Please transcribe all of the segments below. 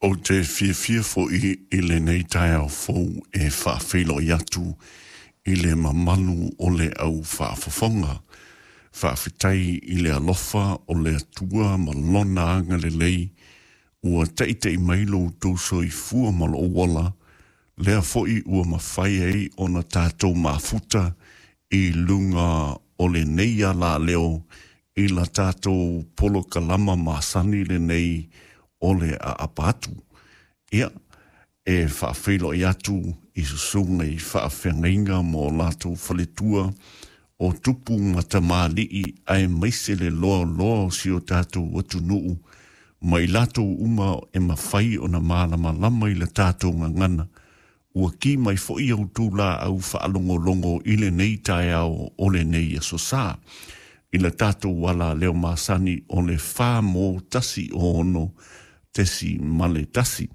Ou te fiafia foi i lenei taeao fou e faafeiloai atu i le mamalu o le au faafofoga. Faafetai i le alofa o le Atua ma Lona agalelei ua taita'i mai lo outou soifua ma lou ola, lea foi ua mafai ai ona tatou mafuta i luga o lenei alaleo i la tatou polokalama masani lenei o le aapa atu. Ia, e faafeiloai atu i susuga i faafeagaiga ma o latou faletua o tupu ma tamalii aemaise le loaloa o si o tatou atunuu ma i latou uma e mafai ona malamalama i le tatou gagana ua ki mai foi a outou laau faalogologo i lenei taeao o lenei aso Sa i le tatou alaleo masani o le 416.1.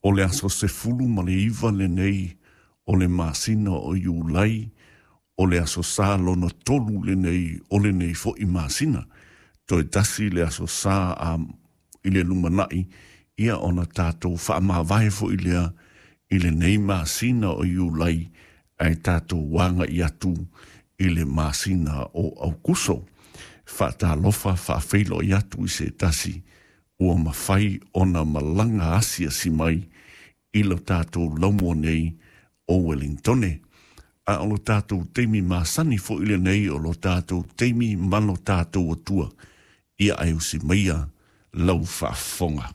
O le aso 19 lenei o le masina o Iulai, o le aso Sa lona tolu lenei o lenei foi masina. Toe tasi le aso Sa a i le lumanai, ia ona tatou faamavae foi lea i lenei masina o Iulai ae tatou agai atu i le masina o Aukuso. Faatalofa faafeiloai atu i se tasi ua mafai ona malaga asiasi mai i lo tatou laumua nei o Wellingtone. A o lo tatou taimi masani foi lenei o lo tatou taimi ma lo tatou Atua, ia ae usi maia lau faafofoga.